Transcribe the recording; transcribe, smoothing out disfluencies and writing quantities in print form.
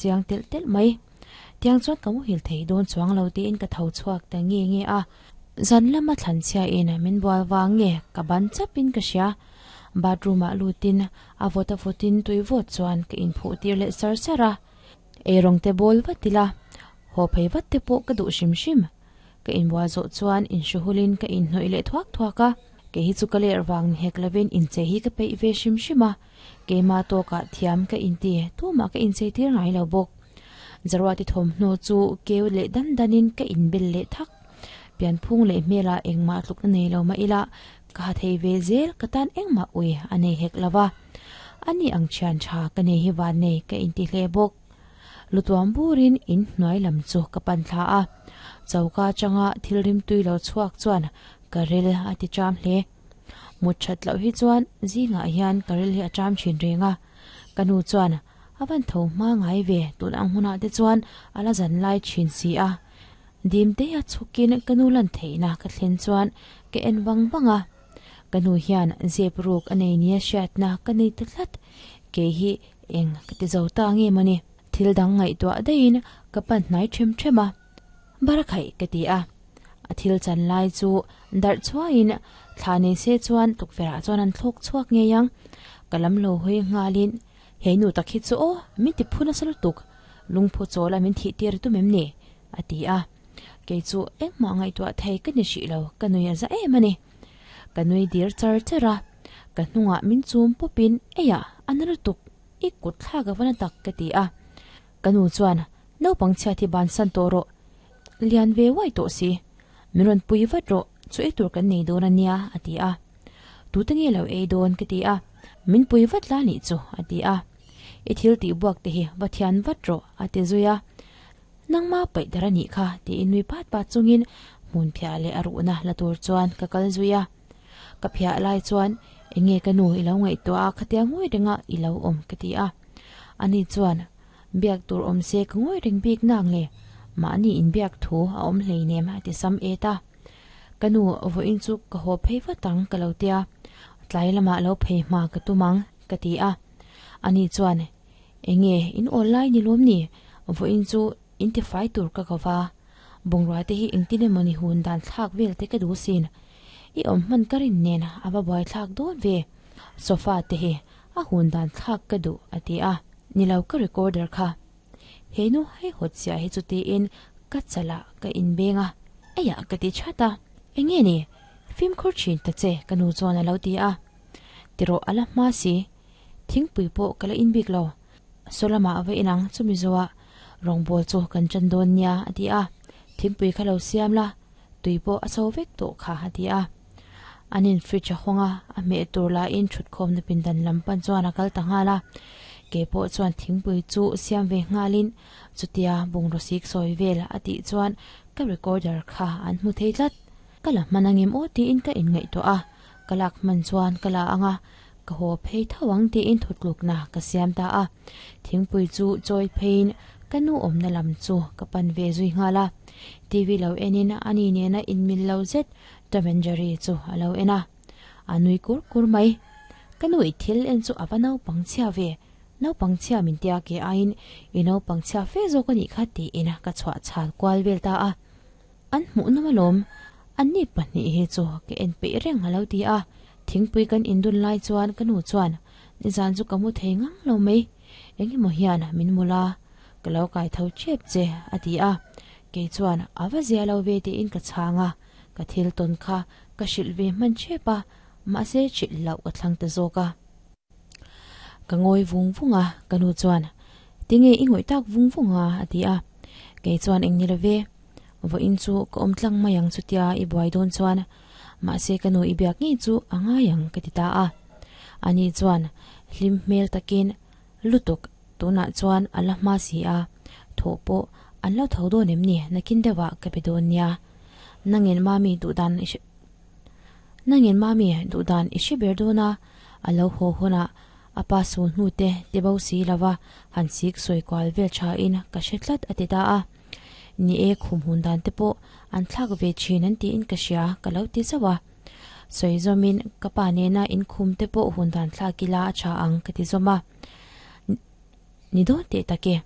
Chiang telh telh mai. Tiang chuan ka muhil thei dawn chuang lo tiin ka tho chhuak ta nge nge a. Zan lama thlan chhia in min bual vang nge ka ban chap in ka hria. Bathroom ah lut in a vawt a vawt in tui vawt chuan ka inphuh tir leh sar sar a. Eirawng te bawl vat ila, haw phei vat te pawh ka duh hrim hrim. Ka inbual zawh chuan inhruhul in ka inhnawih leh thuak thuak a. Kei hi chu ka ler vang ni hek lovin inchei hi ka peih ve hrim hrim a. Keimah tawkah thiam ka inti, tumah ka inchei tir ngai lo bawk. Zaruati thawmhnaw chu keu leh dan danin ka inbel leh thak. Pianphung leh hmelah engmah tlukna nei lo mah ila, ka ha thei ve zel, ka tan engmah ui a nei hek lo va. Ani ang thian tha ka nei hi van nei ka inti hle bawk. Lutuam burin in hnuai lam chu ka pan thla a. Choka atanga thil rimtui lo chhuak chuan ka ril a ti cham hle. Mut that loh hi chuan zingah hian ka ril hi a cham thin reng a. Ka nu chuan a van tho hma ngai ve tun ang hunah te chuan a la zan lai thin si a. Dim te a chhukin ka nu lan theihna ka thlen chuan ka en vang vang a. Ka nu hian zep ruk a nei nia hriatna ka nei ta tlat. Kei hi eng ka ti zo ta nge mawni. Thil dang ngaihtuah daihin ka pan hnai them them a. Barakhaih ka ti a. A thil chan lai chu darh chhuahin thla nei se chuan tukverhah chuan an thlawk chhuak ngei ang. Ka lam lo hawi nghalin, He nu tak hi chu aw, min ti phu nasa lutuk, lungphu chawl a min thih tir tum em ni? a ti a. Kei chu engmah ngaihtuah thei ka ni hrih lo, ka nui a za em a ni. Ka nui dir char char a, ka hnungah min chum pawpin, Eiah, a na lutuk, i kut thlak a va na tak ka ti a. Ka nu chuan, Naupang chhiat hi bansan tawh rawh, lian ve uai tawh si, min rawn pui vat rawh, chu ei tur kan nei dawn a nia, a ti a. Tute nge lo ei dawn ka ti a, min pui vat la nih chu, a ti a. I thil tih buak te hi va thian vat rawh, a ti zui a. Nangma paih dar a nih kha, tiin nui pat pat chungin hmun phiah leh a ruhna la tur chuan ka kal zui a. Ka phiah lai chuan, Enge ka nu i lo ngaihtuah a, khatia ngawi renga i lo awm, ka ti a. Ani chuan, Biak tur awm se ka ngawi reng bik nang le, mahni inbiak thu a awm hleinem a ti sam et a. Ka nu vawiin chu ka haw phei vat ang ka lo tia, tlai lamah lo phei hma ka tum ang ka ti a. Ani chuan, Enge in awl lai ni lawm ni, vawiin chu in tifai tur ka ko va, bungrua te hi engtin emaw ni hun dan thlak vel te ka duh sin, i awm hman ka rin nen a va buai thlak dawn ve, sofa te hi a hun dan thlak ka duh a ti a. Ni lo ka recorder kha. He nu hei hawt chiah hi chu tiin ka chalah ka inbeng a, eiah ka ti chat a, enge ni? Fimkhur thin ta che ka nu chuan a lo ti a. Tirawh a la hma si, thingpui pawh ka la in bik lo. Saw lamah va inang chumi zawhah rawngbawl chu kan tan dawn nia a ti a, thingpui kha lo siam la, tui pawh a so vek tawh kha a ti a. An in fridge a hawng a, a hmeh tur lahin thutkhawmna pindan lam pan chuan a kal ta nghal a. Kei pawh chuan thingpui chu siam ve nghalin chutia bungraw sik sawi vel a tih chuan ka recorder kha an hmu thei tlat. Ka la hman angem aw tiin ka inngaihtuah a, ka lak hman chuan ka la ang a, ka haw phei tho ang tiin thutlukna ka siam ta a. Thingpui chu chawi pheiin ka nu awmna lam chu ka pan ve zui nghal a. TV lo enin ani nena inmil lo zet Tom and Jerry chu a lo en a, a nui kur kur mai. Ka nu i thil en chu a va naupang chhia ve, naupang chhia min tia ke aiin i naupang chhia fe zawk a nih kha tiin ka chhuah chhal kual vel ta a. An hmuh nawm alawm, anni pahnih hi chu ka en peih reng a lo ti a. Thingpui kan indun lai chuan ka nu chuan nizan chu ka mu thei ngang lo mai, engemaw hian min mul a, ka lo kai tho chep che a ti a. Kei chuan a va zia lo ve tiin ka chhang a, ka thil tawn kha ka hrilh ve hman chep a, mahse hrilh loh ka thlang ta zawk a. Ka ngawi vung vung a, ka nu chuan, Tinge i ngawih tak vung vung a? a ti a. Kei chuan eng ni lo ve, vawiin chu ka awm tlang mai ang chutia i buai dawn chuan, mahse ka nu i biak ngei chu a ngai ang ka ti ta a. Ani chuan hlim hmel takin, Lutuk, tunah chuan a la hma si a, thawh pawh an lo tho dawn em ni nakin deuhah ka be dawn nia. Nangin mami duhdan i hre Nangin mami duhdan i hre ber dawn a, a lo haw hunah a pa sul hnu te ti bo si lova han sik sawi kual vel thain ka hre tlat a ti ta a. Ni e khum hun dan te pawh an thlak ve thin an tiin ka hria ka lo ti zauh a. Sawi zawmin ka pa nena inkhum te pawh hun dan thlak ila a tha ang ka ti zawm a. Ni dawn teh tak e.